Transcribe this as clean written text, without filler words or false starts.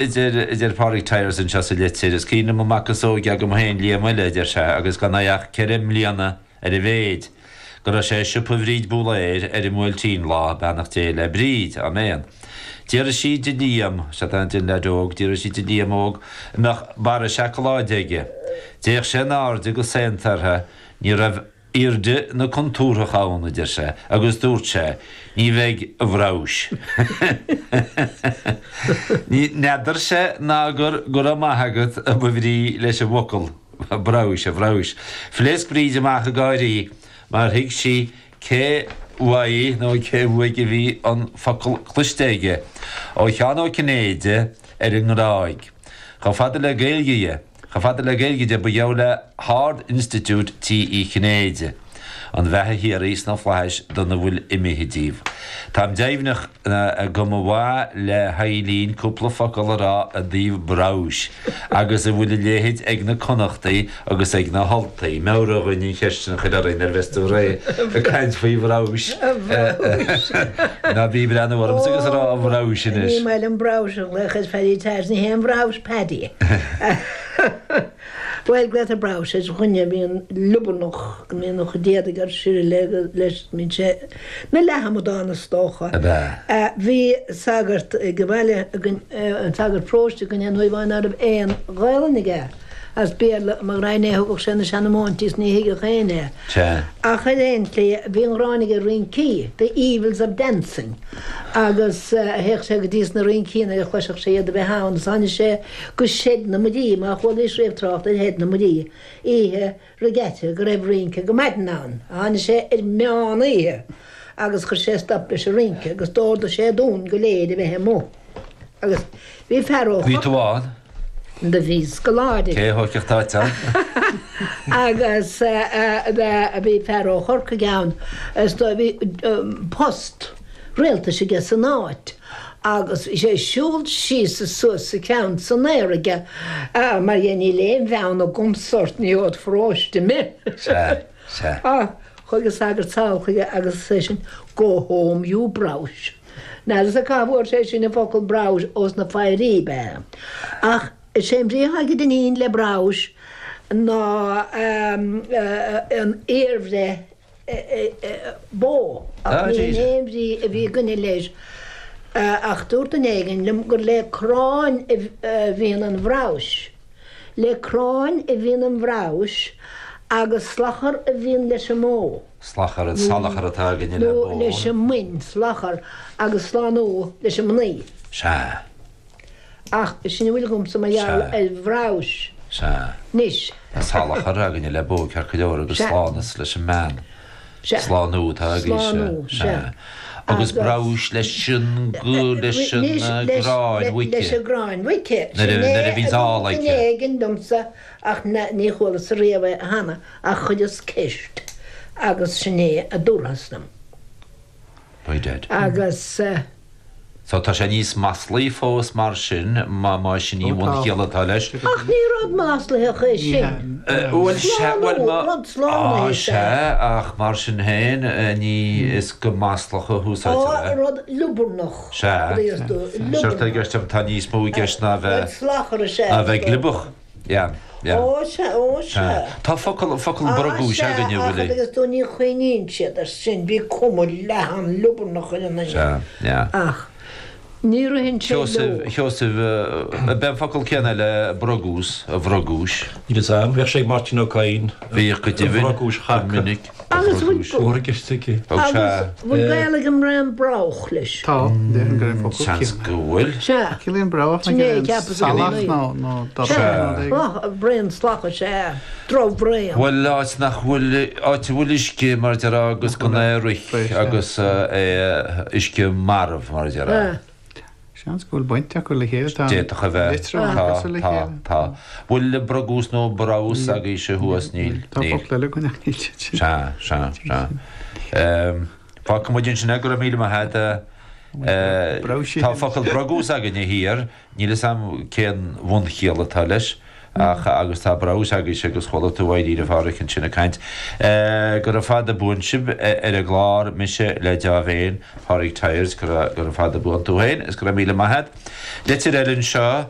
A deir Pádraig Tyers anseo sa litir, is cuimhin liom an mac is óige agam féin, Liam Uile, a deir sé, agus gan é ach 4 mbliana ar a mhéid, go raibh sé i siopa Bhríd Búlaeir ar an mBuailtín lá, beannacht Dé le Bríd, áiméan. D'fhiafraigh sí de Liam, sea tá, den leaid óg, d'fhiafraigh sí de Liam óg an mbeadh barra seacláide aige. D'fhéach sé in airde go saonta uirthi, ní raibh airde na contúirteach ann, a deir sé, agus dúirt sé, ní bheidh, a bhrabhais. Ní n'fheadarse ná gur go raibh maith agat a ba bhrí leis an bhfocal brabhais, a bhrabhais. Phléasc Bríd amach ag gáirí mar thuig sí cé uaidh nó cé uaidh a bhí an focal cloiste aige, ó Sheán Ó Cinnéide ar an nGráig. Chomh fada le Gaeilge dhe. Chomh fada le Gaeilge de, ba gheall le hArd-Institiúid Tí Uí Chinnéide an bheatha shíoraí sna flaithis dona bhfuil imithe díobh. Táim deimhneach go mba mhaith le hEilín cúpla focal a rá i dtaobh brabhais agus a bhfuil a leithéid ag na Connachtaigh agus ag na hUltaigh. Meabhraigh dhuinn an cheist sin a chur orainn nuair a bheas tú réidh ag caint faoi bhrabhais. Ná bí ag breathnú ormsa agus ag rá a bhrabhais anois. Ní maith liom brabhais a ghlaoch ar Phaddy Tyers, ní hé an bhrabhais Paddy. Bhuel, glaotar brabhais ar dhuine a bhíonn liobarnach, go mbíonn a chuid éadaigh ar sirle leis, bíonn sé ina leathamadán is dócha. Ab ea? Bhí sagart ag an bhaile againn, an sagart paróiste againn aon uair amháin ná raibh aon Ghaelainn aige. As Béarla, mo ghraidhin é, thugadh sé na seanamóintí is ní thuigeadh éinne é. Sea. Ach ar aon tslí, bhí an ghráin aige ar rincí, the evils of dancing, agus théadh sé go dtí sna rincí nuair a chloisfeadh sé iad a bheith ann, is tháinig sé go Seid na Muirí, má chualaís riamh trácht ar Sheid na Muirí, oíche regatta go raibh rince go maidin ann. Tháinig sé ar meán oíche agus chuir sé stop leis an rince agus d'ordaigh sé dúinn go léir a bheith amuigh. Agus bhí fear ó Bhí tú ann? Do bhí scoláire. Cé a thógfadh d'áit ann? Agus bhí fear ó Chorcaigh ann is do bhí post rialtais aige san áit agus bhí sé ag siúl síos is suas is a cheann san aer aige mar dhea níl aon bheann agamsa ort ní ód pharóiste mé. Sea, sea. Chuaigh an sagart sall chuige agus seisean Go home you browsh. N'fheadarsa cá bhfuair sé sin an focal brabhais ós na foidhrí ab ea. Ach is é an bhrí atá ag Dinneen le brabhais ná an iarbhreith bó, ach ní hin aon bhrí a bhí againne leis. Ach dúirt duine éigin liom gur le cráin a bhíonn an bhrabhais. Le cráin a bhíonn an bhrabhais agus slachar a bhíonn leis an mbó. Slachar, an salachar atá againne le bó. Nó leis an mboin, slachar, agus slánú leis an mnaoi. Sea. Ach sin a bhfuil agamsa mar gheall ar bhrabhais. Sea. Anois. Tá salachar againne le bó ceart go leor agus slánas leis an mbean. Sea. Slánú atá agaibhse. Slánú, sea. Agus brabhais leis an, leis an gcráin mhuice. Leis an gcráin mhuice. Nuair a bhíonns ál aici. Sin é a dúirt duine éigin liomsa ach ní chualasa riamh é cheana. Ach chuireas ceist agus sin é a dúrthas liom. By dead. Agus. So tá sé níos maslaí fós mar sin, má sin í an bhunchiall atá leis. Ach ní rud maslaitheach é sin. Bhuel sea, bhuel Slánú, má, rud slánaithe á is ea. sea, ach mar sin féin, ní is go maslach a húsáidtear Á, é. rud liobarnach, Sea. a dúirt tú, Séard atá i liobarnach. gceist agam, tá níos mó i gceist ná a Rud bheith, slachar is ea ná a is bheith dócha. gliobach. Yeah, yeah. Ó sea, ó sea. Tá focal, focal Á brogúis sea, againne, ach bhfuil. agus tú ní chuimhníonn siad air sin, bhí cuma leathan liobarnach ar an nduine. Sea, yeah. Ach ní ritheann sé leo. Sheosaimh, Sheosaimh, ab é an focal céanna le brogús, a bhrogúis. Níl fhios a'm, bhíodh sé ag Máirtín Ó Cadhain. Bhíodh go A deimhin, bhrogúis go chaca. minic, a Agus bhfuil bhrogúis. Mór i gceist aici. Ó sea. Agus bhfuil gaol ag an mbraon broghach leis? Tá, déarfainn gur an focal Seans céanna. go bhfuil. Sea. Ciallaíonn broghach Sin nach é a é cheapas i salach gcónaí. nó nó Sea, dorcha nó rud éigin. braon slacha, sea. Drochbhraon. Bhuel, áit nach bhfuil, áit a bhfuil uisce, mar a déarfá, agus gan é ag rith, agus é, uisce marbh, mar a déarfá. Seans go bhfuil baint acu le chéile, tá an D'fhéadfadh a bheith. litriú Tá, cosúil le tá, chéile. tá. Bhfuil brogús nó brabhas agaibhse thuas? Níl, Tá níl. focal eile againn ach níl siad sin. Sea, sea, sea. Fágfaidh muid ansin é, go raibh míle maith agat. Brabhsí. Tá focal brogús againne thiar, níl fhios a'm cén bhunchiall atá leis. Ach, agus tá brabhas agaibhse agus chuala tú Máirín a Pháraic ansin ag caint. Gura fada buan sibh ar an gclár, mise le deá-mhéin, Pádraig Tyers, gura fada buan tú féin is go raibh míle maith a't. Litir eile anseo.